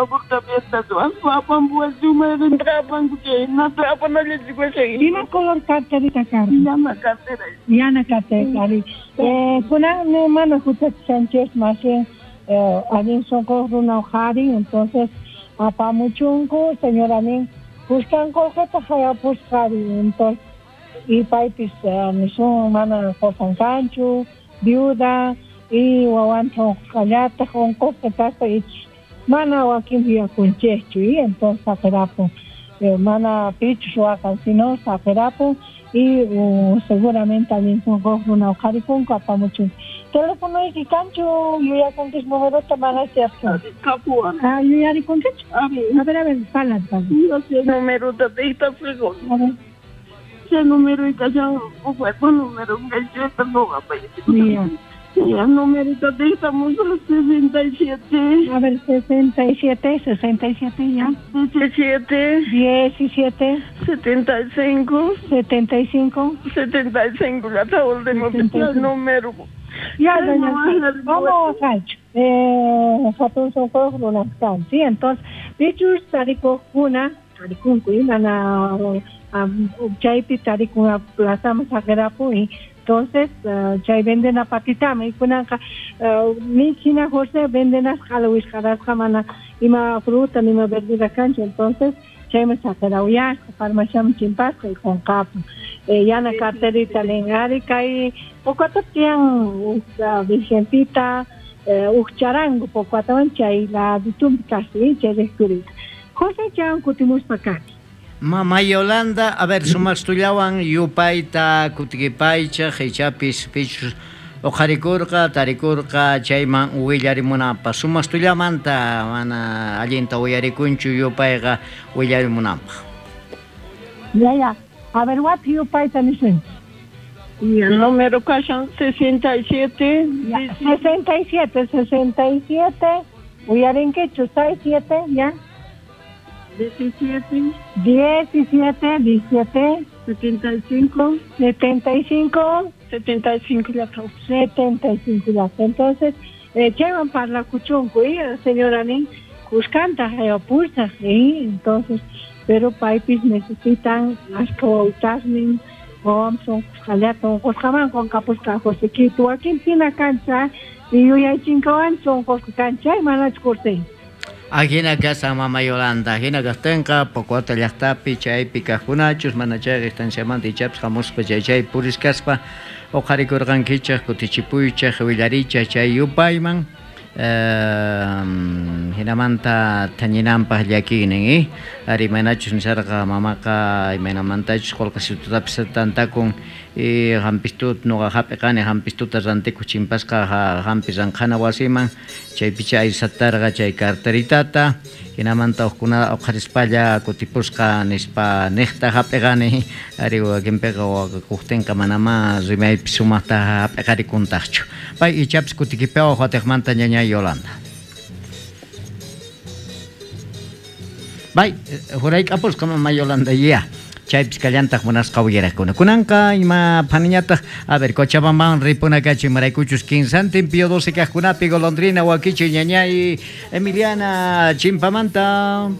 Favorta fiesta ruwaspa apampuwachun mayqinta apanku chaynata apanallachik Ima color carterita karqa? Yana cartera. Yana cartera, ari. Kunan mana huchachishanchis más bien allin sunquyuq runa qhari, entonces apamuchunku, señora nin kuskan qullqita hayapusqa ari, entonces y paypis nisun mana qosan kanchu, viuda y wawanta unqusqallataq, unqusqa kaspa ichus mana wakin yuyakunchikchu y entonces saqirapun, mana pichus waqan sino saqirapun y seguramente allin sunquyuq runa uqharikunku apamuchunku. Telefonoyki kanchu yuyakunkis numerota mana cierto? Kapuwan. Ah, yuyarikunkichu? A ver, a ver, parla, parla. Numerota dictafico. A ver. Ese número y kashan upa número ngacheta noqa Ya. Ya, numerito dictamos 67. A ver, 67, 67 ya. 17. 17. 75. 75. 75, ya está último el número. Ya, doña, vamos a hatun sunquyuq runas kan, sí, entonces, pichus tarikuqkuna, tarikunku, mana chaypi tarikun plazaman saqirapu y entonces chay vendena patitama y kunanqa ni hina José vendenas q'ala mana ima fruta ni ima verdura kanchu, entonces chayman saqirawyasqa farmaciaman chimpasqa y qunqapun. Yana carterita nin ari kay Pocuata tiyan uj virgencita, uj charango Pocuatawan chay laditumpi kasi chay rejurita. José chan kutimuspa kani. Mama Yolanda, a ver, sumastullawan yupayta kutikipaychaj ichapis pichus uqharikurqa, tarikurqa chayman willarimunanpaq. Sumastullamanta mana allinta uyarikunchu yupayqa willarimunanpaq. Ya, ya. A ver, what yupayta nisunchik? Y el número kashan 67. Ya, 67, 67. Uyarinkichu, 6, 7, ya. 17. 17, 17. 75. 75. 75 ya. 75 ya. Entonces, chaywan parlakuchunku, y señora nin, kuskanta hayapusaq, y entonces, pero paypis necesitan ashka wawtasnin, wawan sunqusqallata unqusqaman qunqapusqa Josequito, wakin pina kancha, y yuyaychinkawan sunqusqa kancha, manachu José? Ajina kasa mama Yolanda, ajina kajtinqa Pocuata llaqtapi chaypi kajkunachus mana chayqa estanciamanta ichapis hamuspa chay chay puriskaspa uqharikurqankichaq kutichipuychaq willarichaq chay yupayman hinamanta thañinanpaq llakiynin, ari imaynachus nisharqa mamaqa imaynamantachus qullqisitutapis tantakun y hampistut nuqa hap'iqani hampistuta rantikuq chimpasqa hampi ranqhana wasiman chaypicha aysatarqa chay carteritata hinamanta uqkuna uqharispalla kutipusqa nispa niqta hap'iqani ari wakinpiqa waqakuqtinqa manamá rimaypi sumaqta hap'iqarikuntaqchu. Pay ichapis kutikipiwan watiqmanta ñañay Yolanda. Bay, hurayk'apusqa mama Yolanda ya. Chaypis kallantaq munasqa uyaraqkuna. Kunanqa ima phaniñataq, a ver, Cochabambaman ripunakachu imaraykuchus 15 pío 12 kaqkunapi golondrina wakichi ñañay Emiliana Chimpamanta.